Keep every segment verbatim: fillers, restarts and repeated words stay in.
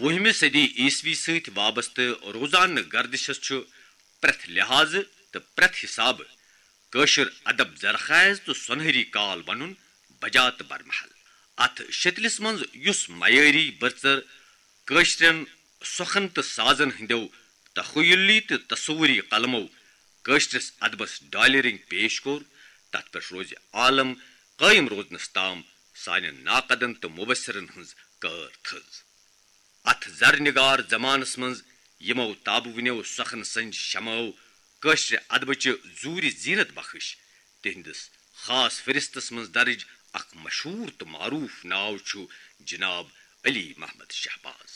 وُہمہِ صدی عیسوی سۭتۍ وابستہٕ روزانہٕ گردشس چھُ پرٛٮ۪تھ لحاظہٕ تہٕ پرٛٮ۪تھ حسابہٕ کٲشُر ادب زرخیز تہٕ سۄنہری کال ونُن بجا تہٕ برمحل۔ اتھ شتلِس منٛز یُس معیٲری بٔرژر کٲشرٮ۪ن سۄخن تہٕ سازن ہٕنٛدیو تخیلی تہٕ تصوری قلمو کٲشرِس ادبس ڈالہِ رٔنگۍ پیش کوٚر، تتھ پٮ۪ٹھ روزِ عالم قٲیِم روزنس تام سانٮ۪ن ناقدن تہٕ مبصرن ہٕنٛز کٲر تھٔز۔ اتھ زر نگار زمانس منٛز یِمو تابوٕنیو سۄخن سٕنٛدۍ شمعو کٲشرِ ادبٕچہِ زوٗرِ زینت بخش تِہنٛدِس خاص فہرستس منٛز درج اکھ مشہوٗر تہٕ معروٗف ناو چھُ جناب علی محمد شہباز۔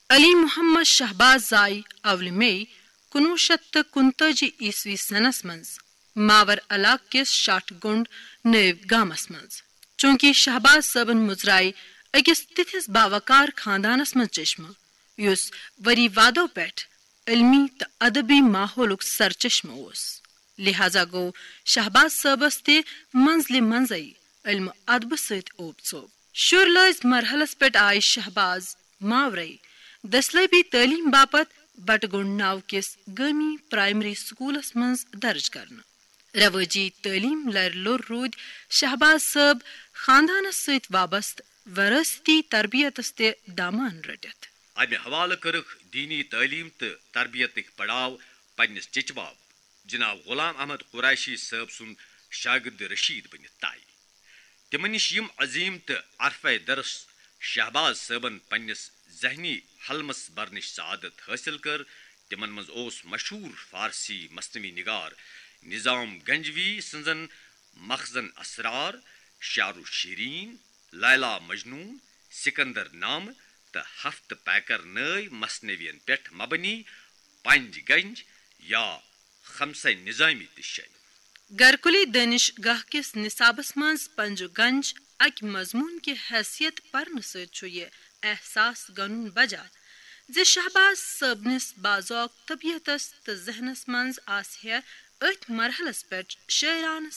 علی محمد شہباز زاے اولہِ مئی کُنوُہ شیٚتھ تہٕ کُنتٲجی عیسوی سنس منٛز ماور علاقہٕ کِس شاٹھ گنڈ نٲوۍ گامس منٛز۔ چونکہ شہباز صٲبن مُژرایہِ أکِس تِتھِس باوقار خاندانس منٛز چشمہٕ، یُس ؤری وادو پٮ۪ٹھ علمی تہٕ ادبی ماحولُک سرچشمہٕ اوس، لہذا گوٚو شہباز صٲبس تہِ منزلہِ منزے علمہٕ ادبہٕ سۭتۍ اوپ ژوپ۔ شُر لٲزۍ مرحلس پٮ۪ٹھ آیہِ شہباز ماورے دٔسلٲبی تعلیٖم باپتھ بٹہٕ گُنڈ ناو کِس گٲمی پرائمری سکولس منٛز درج کرنہٕ۔ رواجی تعلیٖم لرِ لوٚر روٗدۍ شہباز صٲب خاندانس سۭتۍ وابستہٕ وراثتی تربیتس تہِ دامان رٔٹِتھ۔ امہِ حوالہٕ کٔرٕکھ دینی تعلیٖم تہٕ تربیتٕکۍ پڑاو پننِس چچباب جناب غلام احمد قریشی صٲب سُنٛد شاگرد رشید بٔنِتھ طے۔ تِمن نِش یِم عظیٖم تہٕ عرفے درس شہباز صٲبن پننِس ذہنی حلمس برنٕچ سعادت حٲصِل کٔر، تِمن منٛز اوس مشہوٗر فارسی مثنوی نگار نظام گنجوی سٕنٛزن مخزن اسرار، شعر و شیرین، لیلا مجنون، سکندر نامہ تہٕ ہفتہٕ پیکر نٲوۍ مثنوین پٮ۪ٹھ مبنی پنج گنج یا خمسہ نظامی تہِ شٲمِل۔ گرکلی دٲنِش گاہ کِس نصابس منٛز پنجو گنج اکہِ مضمون کہِ حیثیت پرنہٕ سۭتۍ چھُ یہِ احساس گنُن بجا زِ شہباز صٲبنِس باذوق طبیعتس تہٕ ذہنس منٛز آسہِ ہے أتھۍ مرحلس پٮ۪ٹھ شٲعرانہٕ